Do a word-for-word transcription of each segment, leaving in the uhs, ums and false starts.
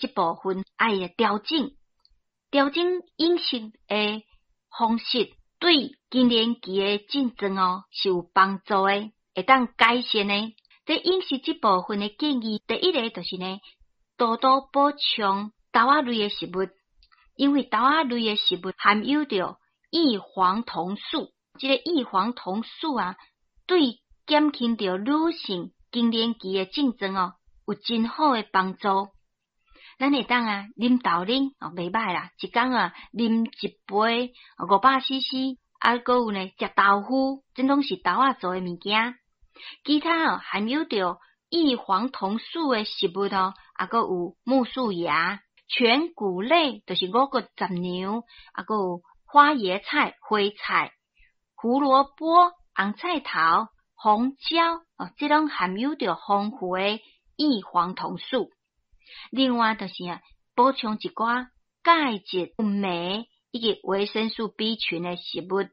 這部分愛調整，調整飲食的方式，對更年期的症狀哦是有幫助的，會當改善的。佇飲食這部分的建議，第一个就是呢，多多補充豆仔類的食物，因為豆仔類的食物含有著異黃酮素，這個異黃酮素啊，對減輕著女性更年期的症狀哦，有真好的幫助。咱會當啊，啉豆奶哦，袂䆀啦，一工啊啉一杯五百 C C，啊，閣有呢，食豆腐，這攏是豆仔做的物件。其他哦，含有著異黃酮素的食物哦，啊，閣有苜蓿芽、全穀類，就是五穀雜糧，啊，閣有花椰菜、花菜、胡蘿蔔、紅菜頭、紅椒哦，這攏含有著豐富的異黃酮素。另外就是啊，補充一寡鈣質、鎂以及維生素 B 群的食物，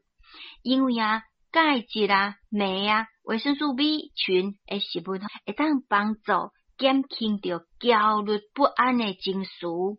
因為啊，鈣質啊、鎂啊、維生素 B 群的食物，會當幫助減輕著焦慮不安的情緒。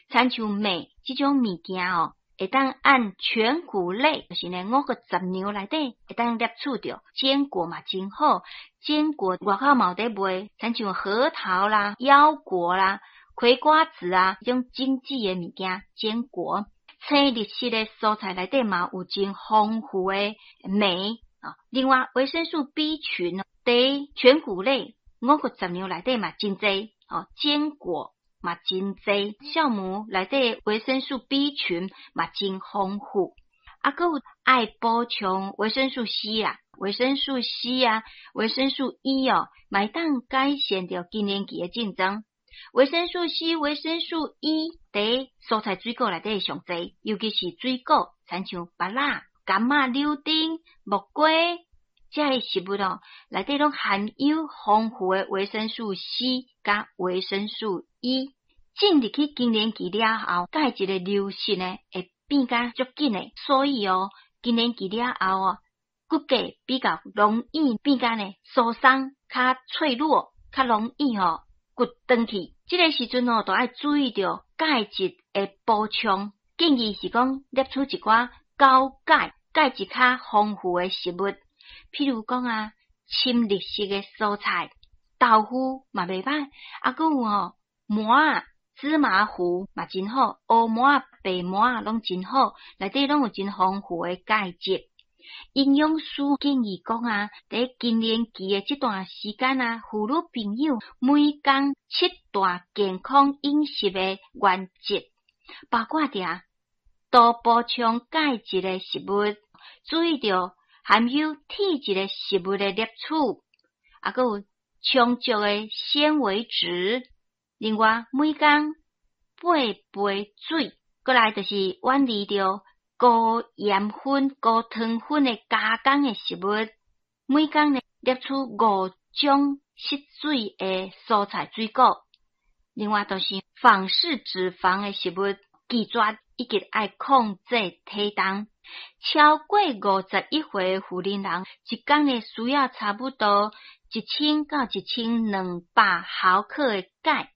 親像鎂這種物件哦，會當按全穀類，就是呢五穀雜糧內底會當攝取著。堅果嘛真好，堅果外口嘛有佇賣，親像核桃啦、腰果啦、葵瓜子啊，這種精緻的物件，堅果。青綠色的蔬菜內底嘛有真豐富的鎂啊。另外，維生素 B 群佇全穀類五穀雜糧內底嘛真濟哦，堅果嘛真濟，酵母內底維生素 B 群嘛真豐富。啊，閣有愛補充維生素 C 啦，維生素 C 啊，維生素 E 哦，嘛會當改善著更年期的症狀。維生素 C、維生素 E 佇蔬菜水果內底上濟，尤其是水果，親像芭樂、柑仔、柳丁、木瓜，這个食物哦，內底攏含有豐富的維生素 C 佮維生素 E。進入去更年期了後，鈣質的流失呢會變甲足緊的，所以哦，更年期了後哦，骨骼比較容易變甲呢疏鬆、較脆弱、較容易吼骨斷去。這个時陣哦，就愛注意著鈣質的補充，建議是講攝取一寡高鈣、鈣質較豐富的食物，譬如講啊，深綠色的蔬菜、豆腐嘛袂䆀，啊，閣有吼麻仔、芝麻糊嘛真好，烏麻仔、白麻仔攏真好，內底攏有真豐富的鈣質。營養師建議講啊，佇更年期的這段時間啊，婦女朋友每工七大健康飲食的原則，包括著多補充鈣質的食物，注意著含有鐵質的食物的攝取，啊，閣有充足的纖維質。另外，每工八杯水，過來就是遠離著高鹽分、高糖分的加工的食物。每工呢攝取五種失水的蔬菜水果。另外，就是反式脂肪的食物拒絕，以及愛控制體重。超過五十一歲婦人人，一工呢需要差不多一千到一千兩百毫克的鈣。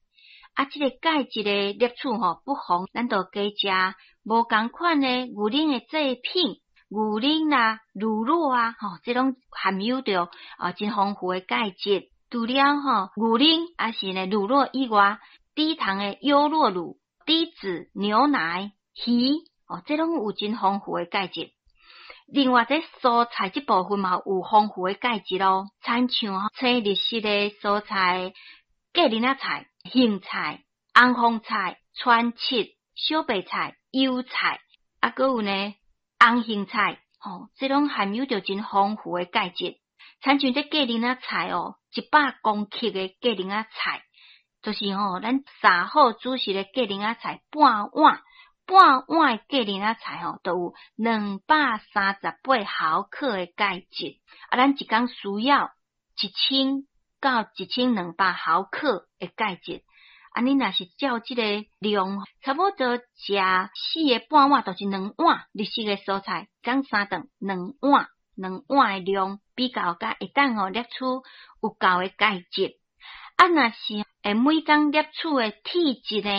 啊，這個鈣質的攝取吼，不妨咱就加食無仝款的牛奶的製品，牛奶啦、乳酪啊，吼，這攏含有著啊真豐富的鈣質。除了吼牛奶，抑是呢乳酪以外，低糖的優酪乳、低脂牛奶、魚，哦，這攏有真豐富的鈣質。另外，佇蔬菜這部分嘛有豐富的鈣質咯，親像青綠色的蔬菜、芥苓仔菜、莧菜、紅鳳菜、川切、小白菜、油菜，啊，閣有呢紅莧菜，吼，這攏含有著真豐富的鈣質。親像這芥苓仔菜哦，一百公克的芥苓仔菜，就是吼咱煠好煮熟的芥苓仔菜半碗，半碗的芥苓仔菜吼，就有兩百三十八毫克的鈣質。啊，咱一工需要一千到一千兩百毫克的鈣質。啊，你若是照這個量，差不多食四個半碗，就是兩碗綠色的蔬菜，工三頓兩碗，兩碗的量比較才會當吼攝取有夠的鈣質。啊，若是會每工攝取的鐵質呢。